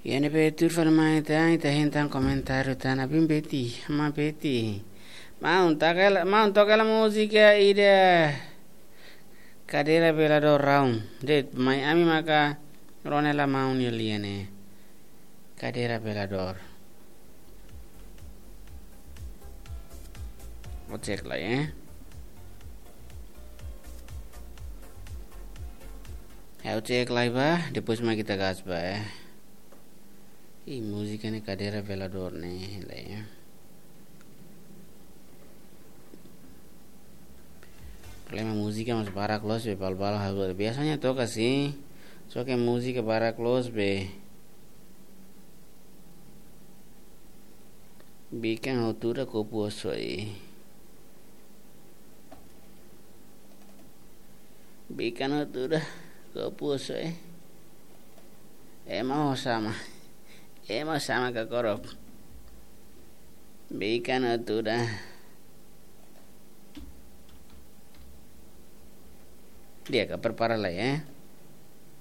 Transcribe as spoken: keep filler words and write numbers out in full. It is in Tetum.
Iha ne'ebé tuir fali mai ita, ita hein tan komentáriu tan, abin Beti, ma Beti. Maun, toka hela, maun, toka hela múzika ida Cadeira Velador Round. De'it, mai ami maka rona hela maun nia lian ne'e. Cadeira Velador. Ha'u cek lai, eh. Ha'u cek lai ba, depois mai ita gas ba, eh. Ih, múzika ne'e Cadeira Velador ne'e, lai, eh. Problema múzika mós barak loos be, bal-bal hal biasanya toka sin. Só ke múzika barak loos be. Bikan ha'u tuda kopu oso e. Bikan ha'u tuda kopu oso e. Ema ho sama. Ema ho sama ka korop. Bikan ha'u tuda. Di'ak, prepara lai, eh.